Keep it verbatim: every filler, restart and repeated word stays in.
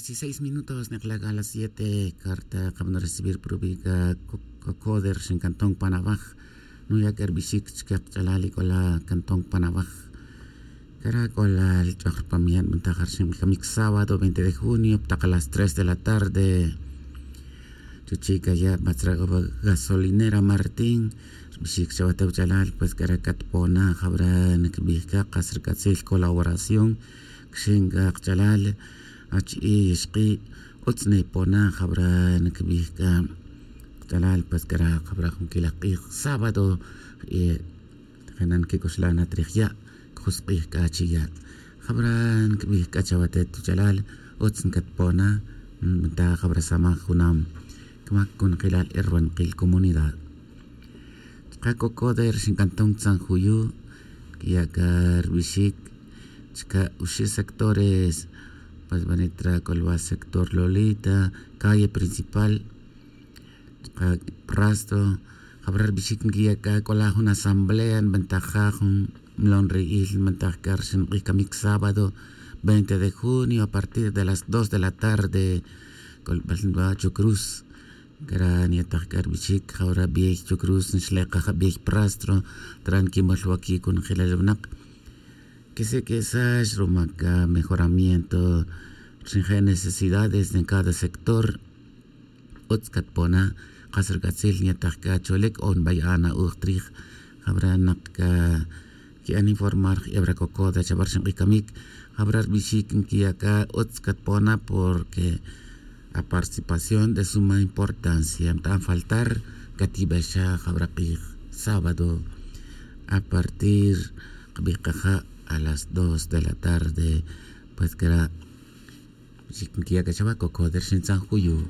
Dieciséis minutos nek'la' k'a las siete. Carta qab'an recibir prubica. Cocoder xin cantón panabaj. Nuya' k'a rbixic chike kach'alal ik'ola cantón panabaj. Cara' k'ola lich'oj rpamiyan b'antajar xin k'amic sábado veinte de junio ptaq a las tres de la tarde. Chuchi' kaya' matzra' gasolinera martín. Rbixic chawate wach'alal pues cara' catpona jab'ra nikbij c'a kas rk'atzil colaboración. Kxin k'a kach'alal achi'i' ixq'i'. Utz nipona jab'ra nikbij c'a kach'alal pues cara' jab'ra junquil aj q'ij sábado. Jena' nquic'oxla' na trij ya' cjusk'ij c'a chi ya'. Jab'ra nquibij c'a chawatet tuch'alal utz ncatpona. Nta jab'ra samaj junam cmac conjelal erbankil comunidad. Chka' cocoder xincantón tzan juyu' quiya' c'a rbixic chka' uxi' sectores. Pues banitra c'olba sector lolita calle principal. Chka' prastro jab'ra rbixic nquiya' c'a c'ola jun asamblea nbentaja jun mlon ri'il nbentaj c'a rxin k'ij camic sábado veinte de junio a partir de las dos de la tarde. C'olbal nba chucruz. Cara' nyetaj c'a rbixic jab'ra biyey chucruz nxlekaj biyey prastro. Tran quimol waquic conjelal winak quisiq'uesax ruma c'a mejoramiento rxin je' necesidades en cada sector. Utz catpona kas rc'atzil nyetaj c'a cholic o nbaya'a na'uj trij. Jab'ra nak c'a qui'an informar jeb'ra cocoda chab'ar xink'ij camic. Jab'ra rbixic nquiya' c'a utz catpona porque a participación de suma importancia mt'an faltar. Catib'exa jab'ra k'ij sábado a partir kbij kaja' a las dos de la tarde. Pues cara' rbixic nquiya' c'a chawa cocoda rxin tzan juyu'.